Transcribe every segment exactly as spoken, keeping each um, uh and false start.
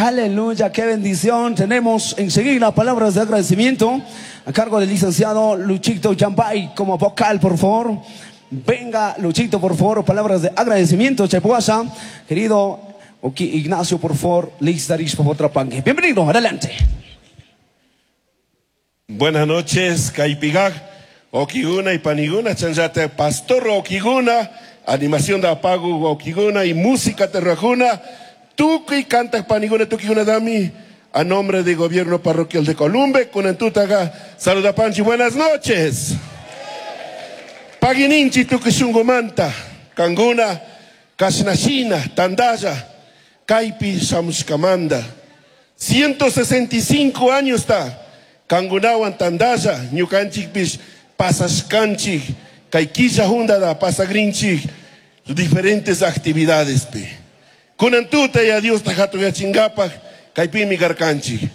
Aleluya, qué bendición. Tenemos enseguida palabras de agradecimiento a cargo del licenciado Luchito Yambay como vocal, por favor. Venga, Luchito, por favor, palabras de agradecimiento. Chepuasa, querido Oki Ignacio, por favor, Listaris, por Trapangue. Bienvenido, adelante. Buenas noches, Caipigag, Okiguna y Paniguna, Chanchate, Pastor Okiguna, animación de apago Okiguna y música terrajuna, Tuki canta Paniguna, Tukiguna Dami, a nombre del gobierno parroquial de Columbe, Kunantutaga, saluda Panchi, buenas noches. Pagininchi Tuki Shungumanta, Kanguna, Kashnashina, Tandaya, Kaipi Shamushkamanda, ciento sesenta y cinco años está. Kangunawan tandaya, ñukanchikpish pasashkanchik, kay killa hundada pasagrinchik, diferentes actividades pi. Kunan tuta ya Dios tajatuyachingapak, kaypimi karkanchik.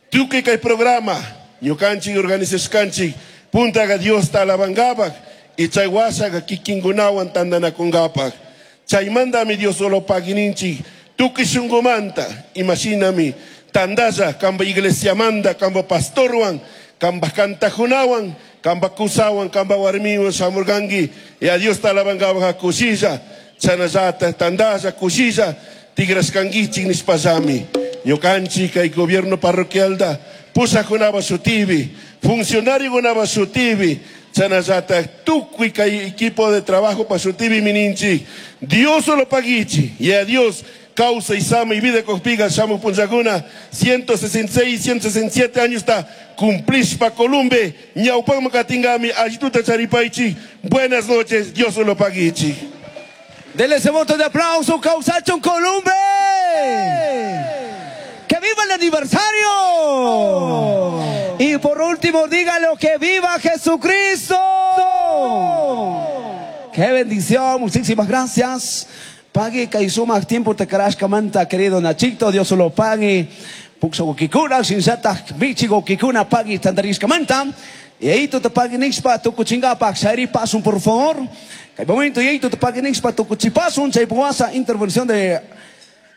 Tukuy kay programa, ñukanchik organizashkanchik, puntaga Dios ta alabangapak, y chay washaga kikingunawan tandanakungapak. Chaymantami Dios solo pagininchik, tukuy shunqumanta, imashinami, tandaya, kamba iglesia manda, kamba pastorwan, kamba kantajunawan, kamba kusawan, kamba warmiwan, shamurgangi, y a Dios talabangaba kushilla, chanayata, tandaya, kushilla, tigraskangichik nispasami, ñukanchik kay gobierno parroquial da, pusajunaba sutibi, funcionario gunaba sutibi, chanayata, tukuy kay equipo de trabajo pa sutibi mininchi, Dios solo pagichi, y a Dios causa y sama y vida cospiga, shamu punzaguna, ciento sesenta y seis, ciento sesenta y siete años está, cumplís pa Columbe, ñaupang makatingami, ayituta charipaichi, buenas noches, Dios lo paguichi. Dele ese voto de aplauso, Causachon Columbe. ¡Que viva el aniversario! Y por último, dígalo que viva Jesucristo. ¡Qué bendición! Muchísimas gracias. Pague kaisuma tiempo te karashka manta, querido Nachito, Dios lo pague. Puxo gokikuna, sinzata, bichi gokikuna, pague tandarishka manta. Y ahí tú te pague nixpa, tu kuchingapa, shairi pasun, por favor. Kay momento, y ahí tú te pague nixpa, tu kuchipasun, chaypuasa, intervención de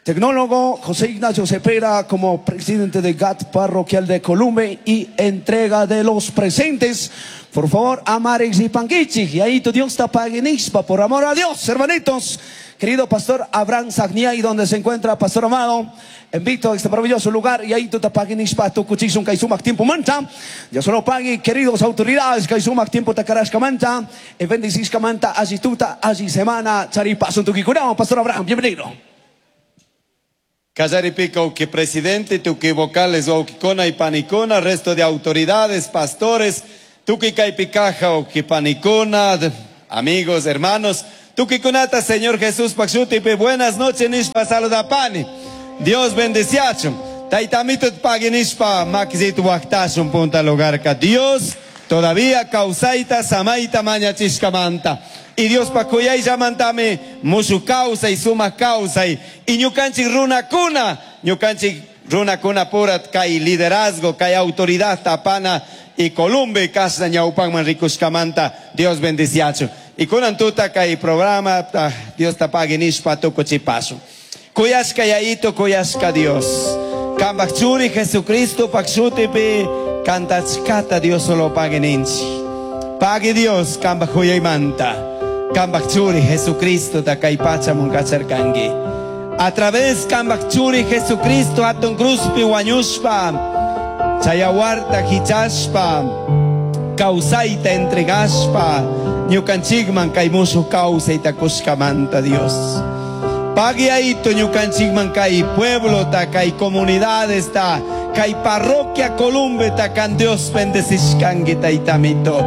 tecnólogo José Ignacio Cepeda como presidente de G A T Parroquial de Columbe y entrega de los presentes. Por favor, Amarex y Panguichi. Y ahí tu Dios te pague nixpa, por amor a Dios, hermanitos. Querido pastor Abraham Sagnia, y donde se encuentra pastor amado, invito a este maravilloso lugar, y ahí tú te paguen ispa, tu cuchisun, kaisumac, tiempo manta. Ya solo pague, queridos autoridades, kaisumac, tiempo tacarashka manta, y bendicis kamanta, allí tuta, allí semana, charipasun, tuquicurao. Pastor Abraham, bienvenido. Callaripico, que presidente, tuqui vocales, oquicona y panicona, resto de autoridades, pastores, tuqui caipicaja, oqui panicona, amigos, hermanos, tuquikunata, Señor Jesús Paxutipe, buenas noches, nishpa saludapani. Dios bendeciachum. Taitamito paginishpa, maxit huactashum punta lugarca. Dios todavía causaita, samaita, mañachishkamanta. Y Dios pacuyay llamantame, mushu causa y suma causa y, y ñukanchik runa cuna, ñukanchik runa cuna purat, kai liderazgo, kai autoridad tapana y Columbe, casa ñaupanman rikushkamanta. Dios bendeciacho. Y kunan tuta kai programa, ta, Dios tapague nishpa tuko chipaso. Kuyashka yaito, kuyashka Dios. Kambachuri Jesucristo pakshutipi, kantachkata Dios solo pague ninchi. Pague Dios, kambachuyay manta. Kambachuri Jesucristo takai pacha munkacharkangi. A través kambachuri Jesucristo atun cruzpi wañushpa, chayawarta hichashpa, causaita entregashpa, ñukanchikman kay mushu kawsayta kushkamanta Dios. Pague ahito ñukanchikman kay pueblo ta kay comunidades ta kay parroquia Columbe ta kan Dios bendecishkangi taytamito.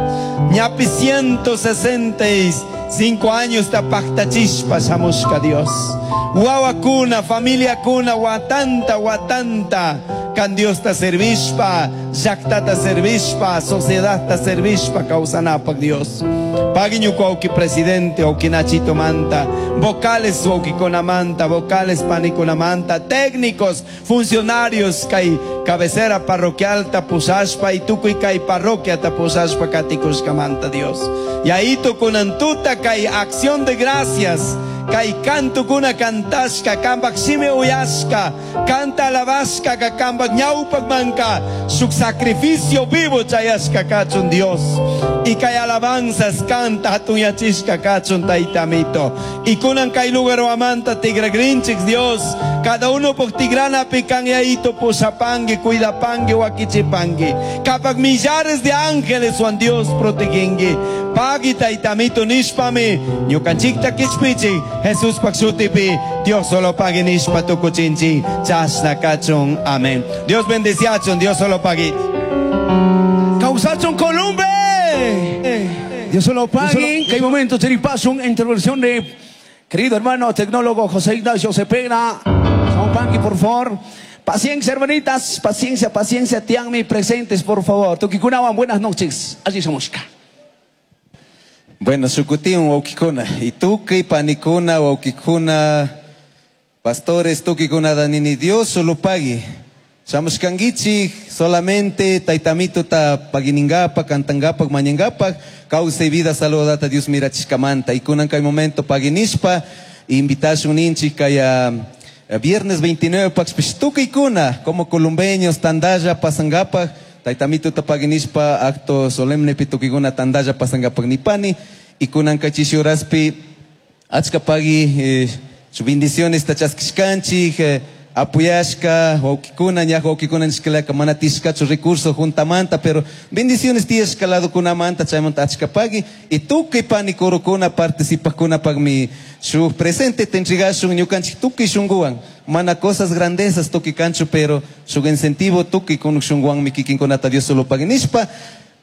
Ñapi ciento sesenta y cinco años ta pactachishpa shamushka Dios. Wawakuna, familia kuna, watanta, watanta, kan Dios ta servishpa, llaktata servishpa, sociedad ta servishpa, kawsanapak Dios. Pague ñuka auki presidente, auki Nachito manta, vocales auki conamanta, vocales paniconamanta, técnicos, funcionarios, kay cabecera parroquial tapusashpa y tukuy kay parroquia tapusashpa katikushkamanta Dios. Y ahí tukunantuta kay acción de gracias, Kay kantukuna kantashka, kambak shimi uyashka, kanta alabashka, ka kambak ñawpak manka, shuk sacrificio vivo chayashka kachun Dios. Y kay alabanzas kanta hatuyachishka kachun taytamito. Y kunan kay lugar amanta tigragrinchik Dios, cada uno por tigrana pican yaito pusapangi, cuidapangi, wakichipangi. Kapak millares de ángeles Juan Dios protegengi. Pagi taytamito nishpami, ñukanchikta kichpichi, Jesús pakshutipi, Dios solo pague nishpa tukuchinchi, chasna kachun, amén. Dios bendeciachun, Dios solo pague. Causachun Columbe. Dios solo pague. Que hay momento, chiripasun, intervención de querido hermano tecnólogo José Ignacio Cepeda. San Pangui, por favor. Paciencia, hermanitas, paciencia, paciencia, tianmi presentes, por favor. Tukikunawan, buenas noches. Allí somos. Bueno, shukutin waukikuna, y tuki panikuna waukikuna, pastores tukikuna danini, Dios solo pague. Shamushkangichi solamente taitamito ta paginingapa, cantangapa, mañangapa, causa y vida saludata Dios mirachishkamanta. Y kunan kay momento paginishpa, invitación ninchi kaya viernes veintinueve paxpish tukikuna, como columbeños, tandaya, pasangapa, taitamito ta paginishpa, acto solemne pitukiguna tandaya pasangapa nipani, y kunan kachishuraspi, achka pagi, eh, su bendiciones tachaskishkanchi, eh, apuyashka, waukikuna, ñaj waukikuna nishkalaka, mana tishkachu recurso juntamanta, pero bendiciones tiyashka lado kunamanta, chaymanta achka pagi, y tukuy pani kurukuna participakuna pagmi shuk presente te entregashun ñukanchik tukuy shunguwan, mana cosas grandezas tukuy kanchu, pero shuk incentivo tukuy kunuk shunguwanmi kikinkunata Dios solo pagi nishpa,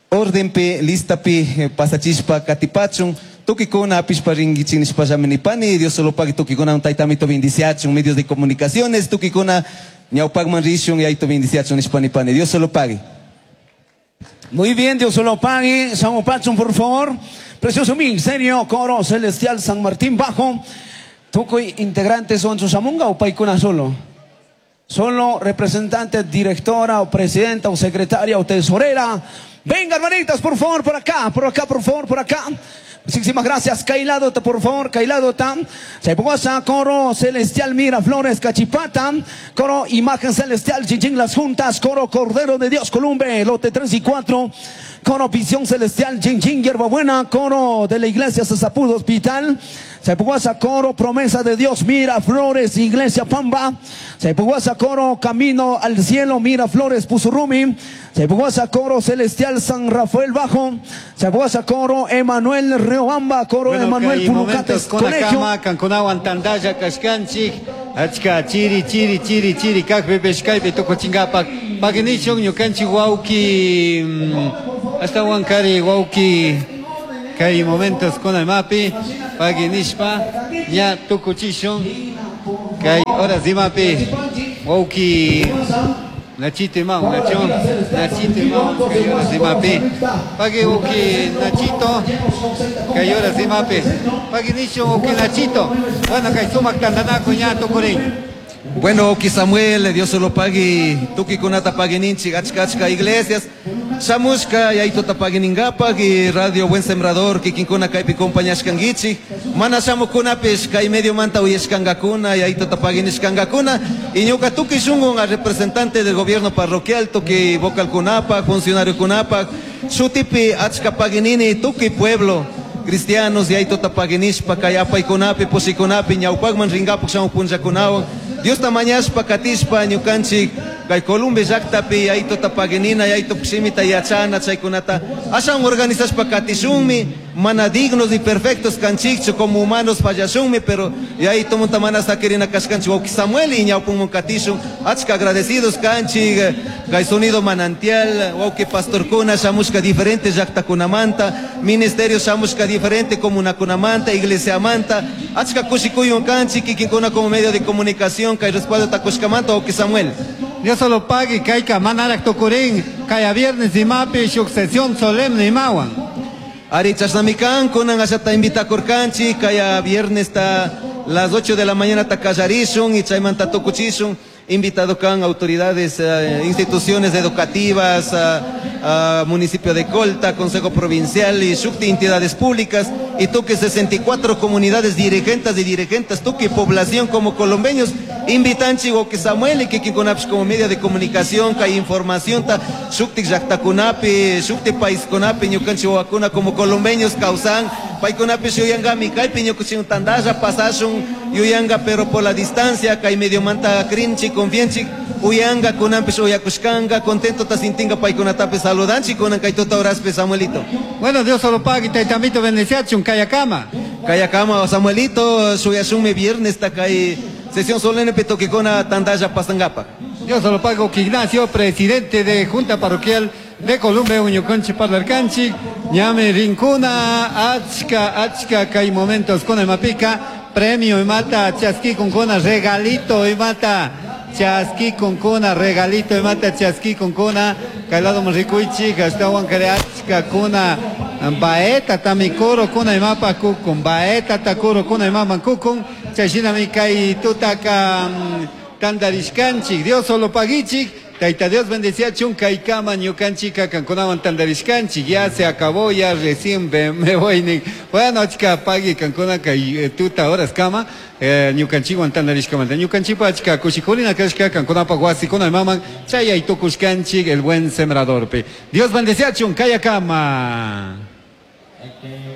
ordenpi, listapi, pasachishpa, katipachun, tukikuna apishpa ringuichin nishpa nipani, Dios solo pague tukikuna taitamito bendiciachun, medios de comunicaciones, tukikuna ñawpagman rishun y aito bendiciachun nishpa nipani, Dios solo pague. Muy bien, Dios solo pague. San Pachun, por favor. Precioso ministerio, coro celestial San Martín Bajo. Tukuy integrantes son Susamunga o paikuna solo. Solo representante, directora o presidenta o secretaria o tesorera. Venga, hermanitas, por favor, por acá, por acá, por favor, por acá. Muchísimas gracias, Kailadota, por favor, Kailadota. Chaipoasa, coro celestial Miraflores, Cachipata, coro Imagen Celestial, Chinchín Las Juntas, coro Cordero de Dios, Columbe, lote tres y cuatro, coro Visión Celestial, Chinchín Hierbabuena, coro de la Iglesia Sasapudo Hospital, Chaipoasa, coro Promesa de Dios, Miraflores, Iglesia Pamba, Chaipoasa, coro Camino al Cielo, Miraflores, Pusurrumi, Chaipoasa, coro Celestial San Rafael Bajo, Chaipoasa, coro Emanuel Riobamba, coro bueno, Emanuel Pulucates Colegio. Kankunawan tandalla kashkanchik, achka chiri chiri chiri chiri kakpi peshkaypi tukuchinkapak paginishun ñukanchik wawki hasta wankari wawki kay momentos kuna imapi paginishpa ña tukuchishun kay horas imapi wawki Nachito imam, Nachón, Nachito imam, kay horas imapi. Pagi uki Nachito, kay horas imapi. Pagi nisho uki Nachito. Bueno, kay sumak tandanaku ña tukurin. Bueno, uki Samuel, Dios solo pagi, tuki kunata pagininchi, achka achka iglesias. Shamushka, yaito tapaginingapak y Radio Buen Sembrador, kikinkuna kaypi compañashkangichi. Mana shamukunapish kay medio manta uyashkankakuna, yaito tapaginishkankakuna. Y ñuka tuki shungun a representante del gobierno parroquial, tuki vocal kunapak, funcionario kunapak, shutipi achka paginini, tuki pueblo. Cristianos, yaito tapaginishpa, kay apaykunapi, pusikunapi, ñawpakman ringapak shamupunllakunawan. Dios tamañashpa, katishpa, ñukanchik, kay Columbe llaqtapi yaito tapaginina, yaito pshimita yachana, chaykunata ashan organizashpa katishunmi, mana dignos ni perfectos kanchikchu, como humanos fallashunmi, pero yaito munta mana sakirina kashkanchik wawqi Samuel y ñawpunmun katishun, achka agradecidos kanchik, kay sonido manantial, wawqi pastorkuna shamushka diferente llaqtakunamanta, ministerio shamushka diferente comunakunamanta, iglesiamanta, achka kushikuyun kanchik, kikinkuna como medio de comunicación, kay respaldo takushkamanta, wawqi Samuel. Dios solo pague, kayka manarak tukurin, kaya viernes imapi, shuk sesión solemne imawan. Ari chasnamikan, kunan ashata invitakurkanchik, kaya viernes ta las ocho de la mañana takallarishun y chaymanta tukuchishun. Invitado kan autoridades, eh, instituciones educativas, eh, eh, municipio de Colta, Consejo Provincial y shukti entidades públicas. Y tukuy sesenta y cuatro comunidades dirigentes y dirigentes, tukuy población como colombeños, invitanchik wawqi Samuel y kikinkunapish como media de comunicación, kay información ta shuktik llaktakunapi, shuktik paiskunapi ñukanchik wawakuna como colombeños kawsan, paykunapish yuyangami kaypi ñukanchik tandalla pasashun yuyanga, pero por la distancia kay medio manta crinchik, confianchik, uyanga kunanpish uyakushkanga, contento ta sintinga. Paykunatapis saludanchik kunan kay tuta horaspi, Samuelito. Bueno, Dios solo pague, taytamito bendeciachun, kayakama. Kayakama, Samuelito, shuyashunmi viernes ta kay sesión solemne tukikuna tandalla pasangapaj. Dios solo pago Ignacio, presidente de Junta Parroquial de Columbe, ñukanchik parlarkanchik, ñami rinkuna, achka, achka, kay momentos con imapika, premio imata, chaskikunkuna, regalito imata, chaskikunkuna, regalito imata, chaskikunkuna, kay lado rikuychik, ashtawan kare achka kuna, baeta tami kuru kuna imapa kukun, baeta ta kuru kuna imaman kukun, chayshinami kay tutaka mm, tandarishkanchik. Dios solo paguichik, Taita Dios bendeciachun, kaykama ñukanchika kankunawan tandarishkanchik, ya se acabó, ya recién me, me voy. Ni. Bueno, achka pagui kankuna kay eh, tuta horas kama, eh, ñukanchikwan tandarishkamanta. Ñukanchikpa achka kushikurina kashka kankunapa wasikuna imaman, chayay tukushkanchik el buen sembradorpi. Dios bendeciachun, kayakama. Okay.